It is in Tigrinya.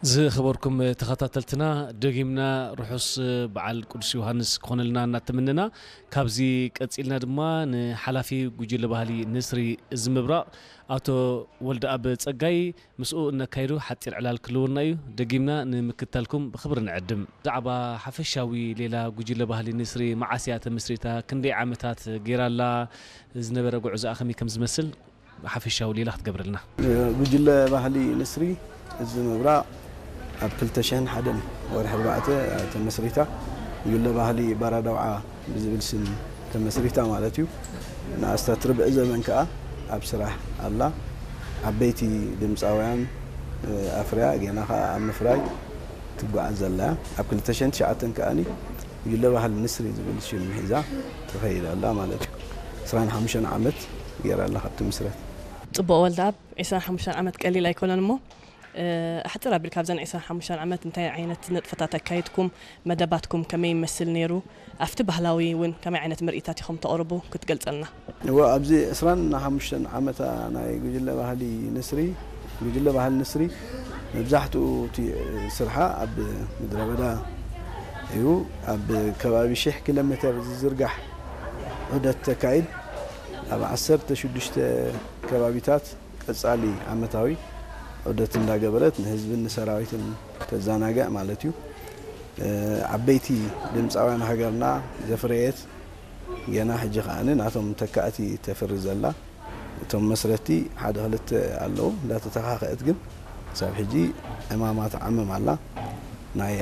ዝኸበርኩም ተኸታተልትና፣ ደጊምና ርሑስ በዓል ቅዱስ ዮሃንስ ክኾነልና እናተመነና፣ ካብዚ ቀጺልና ድማ ንሓላፊ ጉጅለ ባህሊ ንስሪ እዚ ምብራቕ ኣቶ ወልደኣብ ጸጋይ ምስኡ እነካይዶ ሓጺር ዕላል ክልውና እዩ። ደጊምና ንምክታልኩም ብኽብሪ ንዕድም። ብዛዕባ ሓፈሻዊ ሌላ ጉጅለ ባህሊ ንስሪ መዓስ እያ ተመስሪታ፣ ክንደይ ዓመታት ገይራላ፣ ዝነበረ ጉዕዞኣ ከመይ ከም ዝመስል ሓፈሻዊ ሌላ ክትገብረልና። ጉጅለ ባህሊ ንስሪ እዚ ምብራቕ ኣብ ክልተ ሽሕን ሓደን ወርሒ ኣርባዕተ ተመስሪታ። ጉጅለ ባህሊ ባራዳውዓ ብዝብል ስም ተመስሪታ ማለት እዩ። ንኣስታት ርብዒ ዘመን ከኣ ኣብ ስራሕ ኣላ። ዓበይቲ ድምፃውያን ኣፍርያ፣ ገና ከኣ ኣብ ምፍራይ ትጓዓዝ ዘላ እያ። ኣብ ክልተ ሽሕን ትሽዓተን ከኣኒ ጉጅለ ባህሊ ንስሪ ዝብል ሽም ሒዛ ትኸይድ ኣላ ማለት እዩ። ዕስራን ሓሙሽተን ዓመት ገይራ ኣላ ካብ ትምስረት። ጽቡቕ ወልደኣብ፣ ዕስራን ሓሙሽተን ዓመት ቀሊል ኣይኮነን እሞ፣ እ፣ ኣሕጽር ኣቢልካ ኣብዘን ዕስራን ሓሙሽተን ዓመት እንታይ ዓይነት ንጥፈታት ኣካይድኩም፣ መደባትኩም ከመይ ይመስል ነይሩ፣ ኣብቲ ባህላዊ እውን ከመይ ዓይነት ምርኢታት ኢኹም ተቕርቡ ክትገልጸልና? እወ፣ ኣብዚ ዕስራን ሓሙሽተን ዓመታ ናይ ጉጅለ ባህሊ ንስሪ፣ ጉጅለ ባህሊ ንስሪ መብዛሕትኡ እቲ ስርሓ ኣብ ምድረ በዳ እዩ። ኣብ ከባቢ ሽሕ ኪሎ ሜተር ዝዝርጋሕ ዑደት ተካይድ። ኣብ ዓሰርተ ሽዱሽተ ከባቢታት ቀጻሊ ዓመታዊ ዑደት እንዳገበረት ንህዝብን ንሰራዊትን ተዘናግዕ ማለት እዩ። እ፣ ዓበይቲ ድምፃውያን ሃገርና ዘፍረየት፣ ገና ሕጂ ከኣ ናቶም ተካእቲ ተፍሪ ዘላ። እቶም መስረቲ ሓደ ክልተ ኣለዉ፣ እንዳተተኻኸአት ግን ክሳብ ሕጂ ዕማማ ትዓምም ኣላ። ናይ